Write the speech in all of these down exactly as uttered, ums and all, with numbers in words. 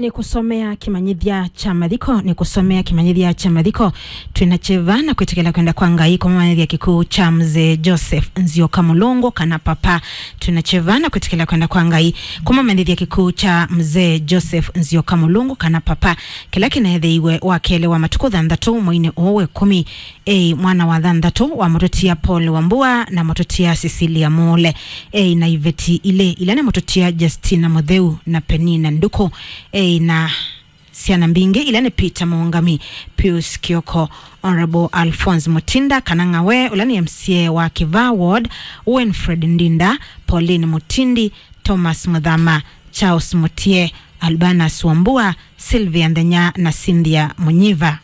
Nĩkũsomea kĩmanyĩthya kya mathiko, nĩkũsomea kĩmanyĩthya kya mathiko. Twĩna kyeva na kwĩtĩkĩla kwenda kwa Ngai kũmũmanyĩthya kĩkw'ũ kya Mzee Joseph Nzioka Mũlũngũ, kana Papa. Twĩna kyeva na kwĩtĩkĩla kwenda kwa Ngai kũmũmanyĩthya kĩkw'ũ kya Mzee Joseph Nzioka Mũlũngũ, kana Papa, kĩla kĩneethĩiwe wa kelĩ wa matukũ thanthatũ mweinĩ ũũ wa ĩkũmi. Ei mwana wa thanthatũ wa mũtũtia Paul Wambua na mũtũtia Cecilia Muule. Ei na iveti ilĩ, ila nĩ mũtũtia Justina Mũtheu na Penina Nduku. Ei na syana mbingĩ, ila nĩ Peter Mũngami, Pius Kioko, Honorable Alphonse Mutinda kana Ng'awe, ũla nĩ M C A wa Kĩvaa Ward, Winfred Ndinda, Pauline Mutindi, Thomas Muthama, Charles Mutie, Albanus Wambua, Sylvia Nthenya na Cynthia Munyiva.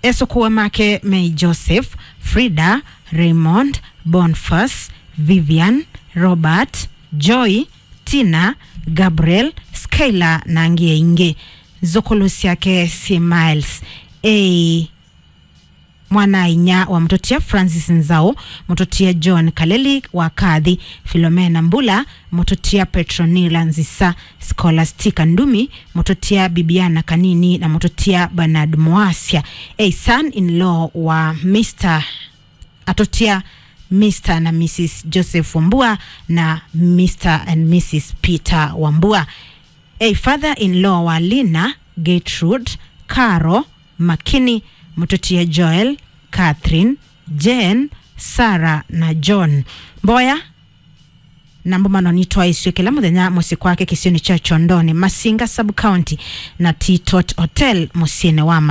Esũkũa make mei Joseph, Frida, Raymond, Boniface, Vivian, Robert, Joy, Tina, Gabriel, Skylar na angĩ aingĩ. Nzũkũlũ syake syĩ Miles. Ei mwana-a-inyia wa mũtũtia Francis Nzau, mũtũtia John Kaleli wa Kathi, Philomena Mbula, mũtũtia Petronila Nzisa, Scholastica Ndumi, mũtũtia Bibiana Kanini na mũtũtia Bernard Moasia. Ei son-in-law wa Mister atũtia Mister na Missus Joseph Wambua na Mister and Missus Peter Wambua. Ei father-in-law wa Lina, Gertrude, Caro, Makini, mũtũtia Joel, Catherine, Jane, Sarah na John. Mboya na mbũmano nitwaĩsw'e kĩla mũthenya mũsyĩ kwake kĩsionĩ kya Kyondoni, Masinga Sub-County, na Titot Hotel mũsyĩnĩ wa